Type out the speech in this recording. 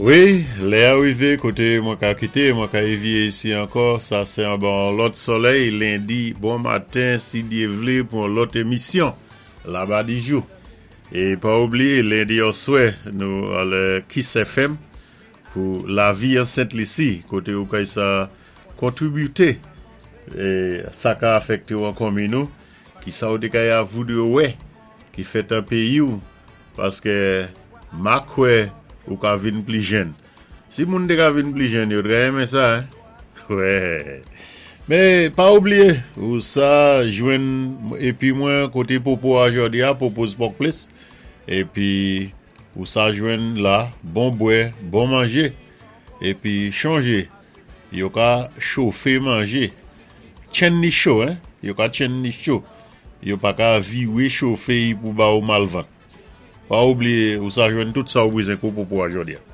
Wi, lè a rivé koté mwen ka kité, mwen ka évyé isi ankò, sa sé anba yon lòt solèy, lendi bon maten si Dyé vlé pou yon lòt émisyon Labadijou. É pa oubliyé lendi oswè nou alè Kiss FM pou Lavi an Sent Lisi koté ou kay sa kontribyité sa ka afèkté ou an konmin ou, kisa ou té ka ya voudwé wè ki fèt an péyi ou. Paske ma kwè ou ka vin pli jenn. Si moun te ka vin pli jenn yo t ka renmen sa hein. Wè. Men pa oubliye ou sa jwenn epi mwen kote popo a jodi a Popo's Pork Place epi ou sa jwenn la bon bwè bon manje epi chonje yo ka chofe manje tchenn li cho hein yo ka tchenn li cho. Yo pa ka vire chofe y pou ba ou malvant. Pa oubliye ou sa jwenn tout sa ou bezwen kou popo a jodi a.